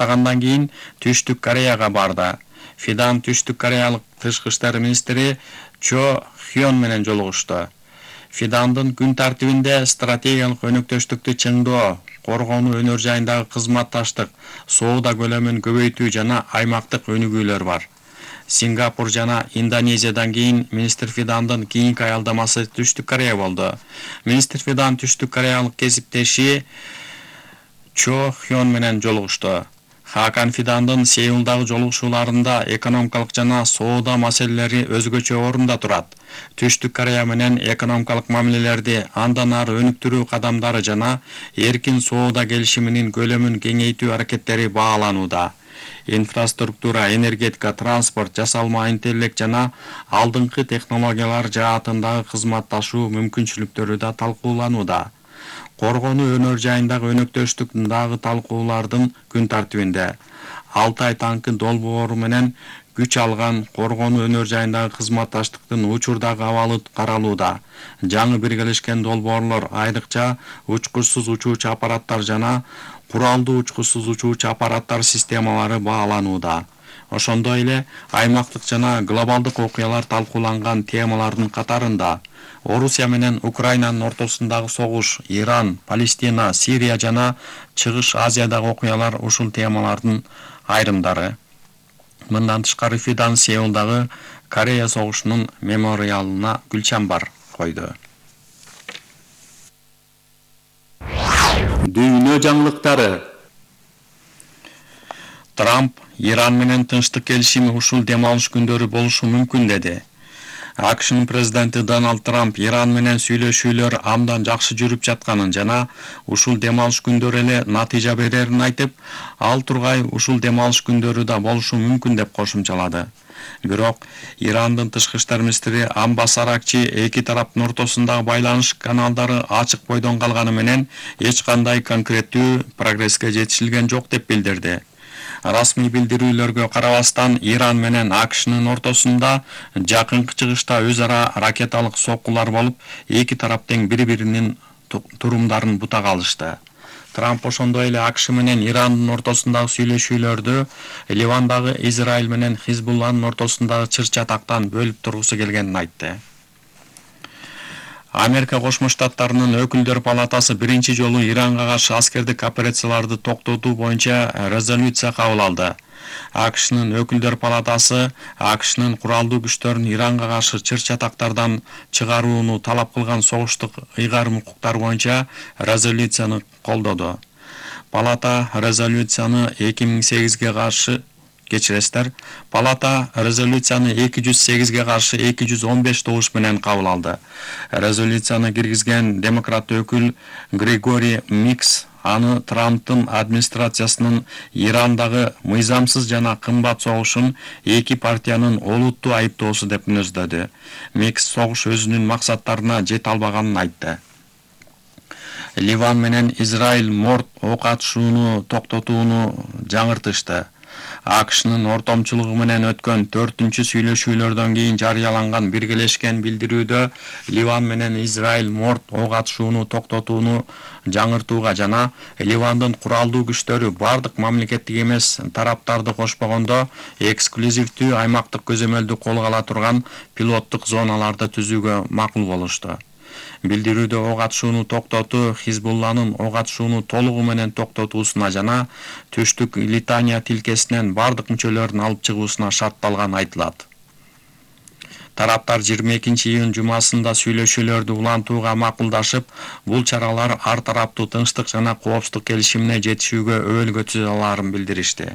аяктагандан кийин Түштүк Кореяга барды. Фидан Түштүк Кореялык тышкы иштер министри Чо Хён менен жолугушту. Фидандын күн тартибинде стратегиялык өнөктөштүктү чыңдоо, коргонуу өнөр жайындагы кызматташтык, соода көлөмүн көбөйтүү жана аймактык өнүгүүлөр бар. Сингапур жана Индонезиядан кийин министр Фидандын кийинки аялдамасы Түштүк Корея болду. Министр Фидан Түштүк Кореялык кесиптеши Чо Хён менен жолугушту. Хакан Фидандын Сеулдагы жолугушууларында экономикалык жана соода маселелери өзгөчө орунда турат. Түштүк Корея менен экономикалык мамилелерди андан ары өнүктүрүү кадамдары жана эркин соода келишиминин көлөмүн кеңейтүү аракеттери бааланууда. Инфраструктура, энергетика, транспорт, жасалма интеллект жана алдыңкы технологиялар жаатындагы кызматташуу мүмкүнчүлүктөрү да талкууланууда. Коргонуу өнөр жайындагы өнөктөштүк дагы талкуулардын күн тартибинде. Алтай танкы долбоору менен күч алган коргонуу өнөр жайындагы кызматташтыктын учурдагы абалы каралууда. Жаңы биргелешкен долбоорлор айрыкча учкучсуз учуучу аппараттар жана куралдуу учкучсуз учуучу аппараттар системалары бааланууда. Ошондой эле аймактык жана глобалдык окуялар талкууланган темалардын катарында Орусия менен Украинанын ортосундагы согуш, Иран, Палестина, Сирия жана Чыгыш Азиядагы окуялар ушул темалардын айрымдары. Мындан тышкары Фидан Сеулдагы Корея согушунун мемориалына гүл чамбар койду. Дүйнө жаңылыктары. Трамп Иран менен тынчтык келишими ушул дем алыш күндөрү болушу мүмкүн деди. АКШнын президенти Дональд Трамп Иран менен сүйлөшүүлөр абдан жакшы жүрүп жатканын жана ушул дем алыш күндөрү эле натыйжа берерин айтып, ал тургай ушул дем алыш күндөрү да болушу мүмкүн деп кошумчалады. Бирок Ирандын тышкы иштер министри Аббас Аракчи эки тараптын ортосундагы байланыш каналдары ачык бойдон калганы менен эч кандай конкреттүү прогресске жетишилген жок деп билдирди. Расмий билдирүүлөргө карабастан Иран менен АКШнын ортосунда жакынкы чыгышта өз ара ракеталык соккулар болуп, эки тарап тең бири-биринин турумдарын бутак алышты. Трамп ошондой эле АКШ менен Ирандын ортосундагы сүйлөшүүлөрдү Ливандагы Израиль менен Хизбулланын ортосундагы чыр-чатактан бөлүп тургусу келгенин айтты. Америка Кошмо Штаттарынын өкүлдөр палатасы биринчи жолу Иранга каршы аскердик операцияларды токтотуу боюнча резолюция кабыл алды. АКШнын өкүлдөр палатасы АКШнын куралдуу күчтөрүн Иранга каршы чыр-чатактардан чыгарууну талап кылган согуштук ыйгарым укуктар боюнча резолюцияны колдоду. Палата резолюцияны 2008-ге каршы Палата резолюцияны 208-ге каршы 215 добуш менен кабыл алды. Резолюцияны киргизген демократ өкүл Григорий Микс аны Трамптын администрациясынын Ирандагы мыйзамсыз жана кымбат согушун эки партиянын олуттуу айыптоосу деп мүнөздөдү. Микс согуш өзүнүн максаттарына жете албаганын айтты. Ливан менен Израиль морт ок атышууну токтотууну жаңыртышты. АКШнын ортомчулугу менен өткөн 4-чү сүйлөшүүлөрдөн кийин жарыяланган биргелешкен билдирүүдө Ливан менен Израиль морт ок атышууну токтотууну жаңыртууга жана Ливандын куралдуу күчтөрү бардык мамлекеттик эмес тараптарды кошпогондо эксклюзивдүү аймактык көзөмөлдү колго ала турган пилоттук зоналарды түзүүгө макул болушту. Билдирүүдө ок атышууну токтотуу Хизбулланын ок атышууну толугу менен токтотуусуна жана Түштүк Литания тилкесинен бардык мүчөлөрүн алып чыгуусуна шартталган айтылат. Тараптар 22-июнь жумасында сүйлөшүүлөрдү улантууга макулдашып, бул чаралар ар тараптуу тынчтык жана коопсуздук келишимине жетишүүгө өбөлгө түзө аларын билдиришти.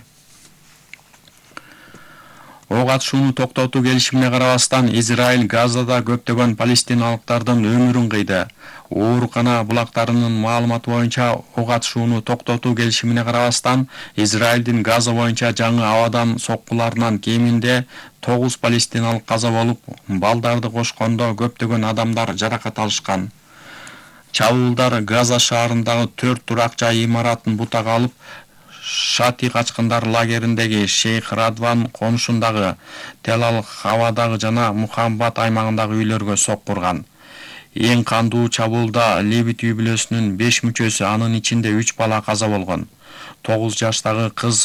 Ок атышууну токтотуу келишимине карабастан Израиль Газада көптөгөн палестиналыктардын өмүрүн кыйды. Оорукана булактарынын маалыматы боюнча ок атышууну токтотуу келишимине карабастан Израилдин Газа боюнча жаңы абадан соккуларынан кеминде 9 палестиналык каза болуп, балдарды кошкондо көптөгөн адамдар жаракат алышкан. Чабуулдар Газа шаарындагы 4 турак жай имаратын бутак алып, Шати качкындар лагериндеги Шейх Радван конушундагы Телал-Хавадагы жана Мухамбат аймагындагы үйлөргө соккурган. Эң кандуу чабуулда Левит үй бүлөсүнүн 5 мүчөсү, анын ичинде 3 бала каза болгон. 9 жаштагы кыз